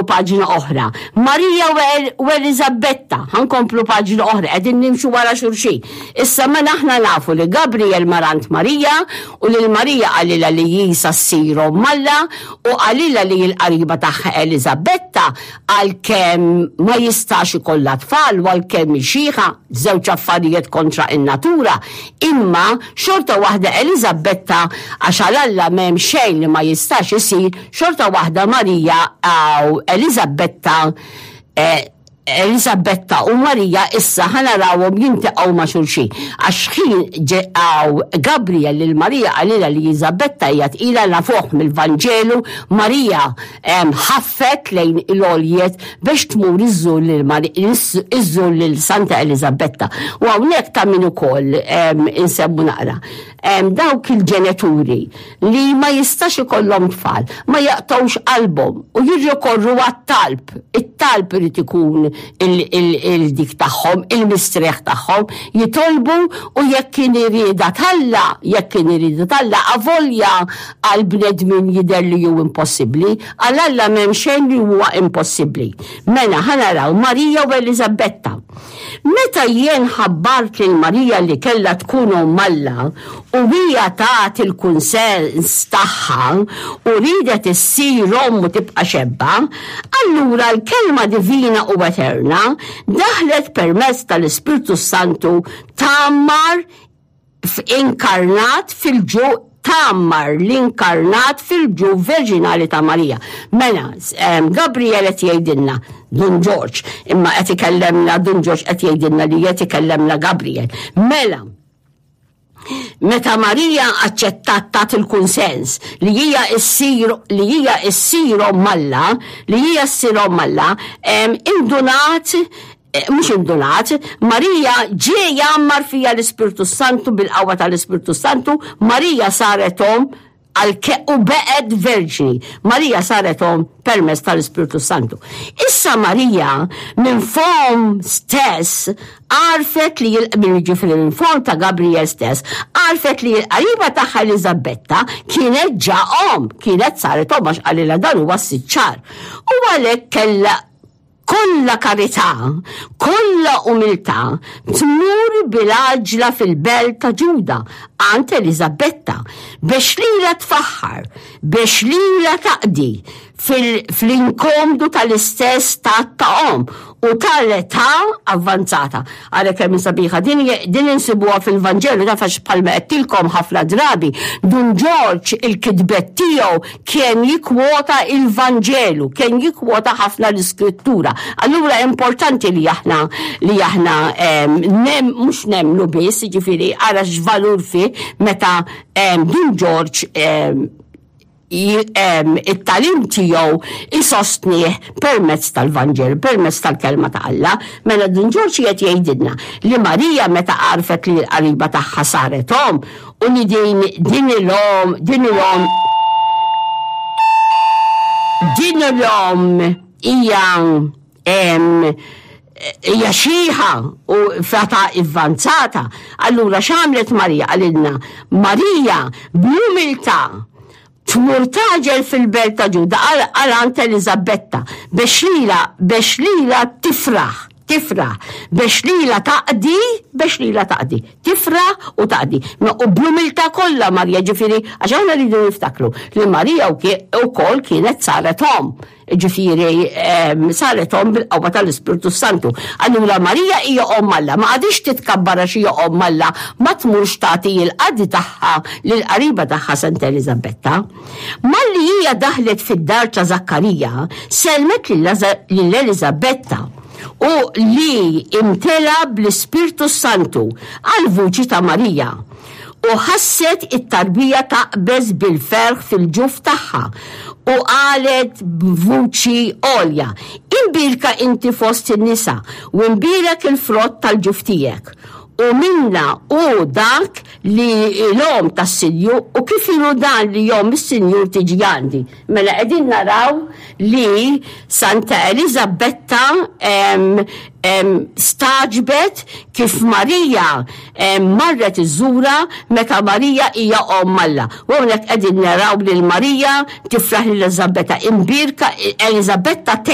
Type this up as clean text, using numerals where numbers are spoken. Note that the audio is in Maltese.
paġna oħra. Marija u Eliżabetta, ħa nkomplu paġna oħra, qegħdin nimxu wara xulxin. Issa mela aħna nafu li Gabriel mar għand Marija u lil Marija qalilha li hi sa ssir omm Alla u qalilha li l-qariba tagħha Eliżabetta għalkemm ma jistax ikollha tfal u għalkemm hi xiħa, żewġ affarijiet kontra in-natura, imma xorta waħda Eliżabetta għax għal Alla m'hemm xejn li ma jistax isir, xorta waħda Marija u Eliżabetta eh, Eliżabetta u Marija issa ħa narawhom jiltaqgħu ma' xulxin. Għax ħin ġew Gabriel lil Marija qalilha li Eliżabetta hija tqila nafuh mill-Vanġelu, Marija ħaffet lejn il-għoljiet biex tmur iżżur lil Santa Eliżabetta. U hawnhekk ta' min ukoll insemmu naqra. Dawk il-ġenituri li ma jistax ikollhom tfal, ma jaqtgħux qalbhom u jirrikorru għat-talb. It-talb irid ikun il-dik tagħhom, il-mistrieħ tagħhom, jitolbu u jekk kien irieda t'Alla, jekk kien irieda t'Alla, avolja għal bnedmin jidher li hu impossibbli, għal Alla m'hemm xejn li huwa impossibbli. Mela ħa naraw Marija u Eliżabetta. Meta jien ħabbart lil Marija li kellha tkun omm Alla u hija tat il-kunsens tagħha u riedet issir omm u tibqa' xebba, allura l-Kelma divina u eterna daħlet permezz tal-Ispirtu s-Santu tgħammar f'inkarnat fil-ġu tgħammar l-inkarnat fil-ġuf verġinali ta' Marija. Mela, Gabriel qed jgħidilna Dun Ġorġ, imma qed ikellemna Dun Ġorġ qed jgħidilna li qed ikellemna Gabriel. Mela, meta Marija aċċettat tat il-kunsens li hija issir li hija issir omm Alla, li hija ssir omm Alla, indunat Eh, mhux indunat, Marija ġie jgħammar fija l-Ispirtu Santu bil-qawwa tal-Ispirtu Santu, Marija saret omm u beqgħet verġni. Marija saret omm permezz tal-Ispirtu Santu. Issa Marija minn fomm stess għarfet li minn ġifieri minn fomm ta' Gabriel stess, għarfet li l-qariba tagħha Eliżabetta kienet ġa omm, kienet saret omm għax qalilha dan huwa s-sitt xahar. U għalhekk kellha kollha karità, kollha umiltà, tmur bil-għaġla fil-belt ta' Ġuda għand Eliżabetta biex lilha tfaħħar, biex lilha taqdi fl-inkomdu tal-istess stat ta' omm u tal-età avvanzata. Ara kemm hi sabiħa din din insibuha fil-Vanġelu taf għax bħalma għedtilkom ħafna drabi Dun Ġorġ il-kitbet tiegħu kien jikkwota il-Vanġelu, kien jikkwota ħafna l-Iskrittura. Allura importanti li aħna li aħna nem mhux nemmnu biss, jiġifieri ara x'valur fih meta Dun Ġorġ it-tagħlim tiegħu isostnih permezz tal-Vanġelu, permezz tal-kelma ta' Alla. Mela Dun Ġorġ qiegħed jgħidilna li Marija meta għarfet li l-qariba tagħha saret omm u li din din il-omm din il-omm din il-omm hija hija xiħa u f'età avvanzata. Allura x'għamlet Marija? Qalilna Marija bl-umiltà tmur tagħġel fil-belt ta' Ġuda għal għand Eliżabetta biex lilha biex lilha tifraħ tifraħ biex lilha taqdi biex lilha taqdi tifraħ u taqdi. U bl-umiltà kollha Marija ġifieri għax aħna rridu niftakru li Marija wkoll kienet saret omm. Ġifieri saret omm bil-qawwa tal-Ispirtu Santu. Allura Marija hija omm Alla, ma qagħditx titkabbar għax hija omm Alla, ma tmurx tagħti l-qadi tagħha lill-qariba tagħha Santa Eliżabetta. Malli hija daħlet fid-dar ta' Żakkarija, sellmet lil Eliżabetta u li imtela bl-Ispirtu Santu għall-vuċi ta' Marija. U ħasset it-tarbija taqbeż bil-ferħ fil-ġuf tagħha, u qalet b'vuċi għolja, Imbierka inti fost in-nisa, u imbierek il-frott tal-ġuf tiegħek. U minna hu dak li l-omm tas-Sinjur u kif inhu dan li omm is-Sinjur tiġi għandi? Mela qegħdin naraw li Santa Eliżabetta stagħġbet kif Marija marret iżżurha meta Marija hija omm Alla. U hawnhekk qegħdin naraw lil Marija tifraħ lil Eliżabetta imbierka. Eliżabetta.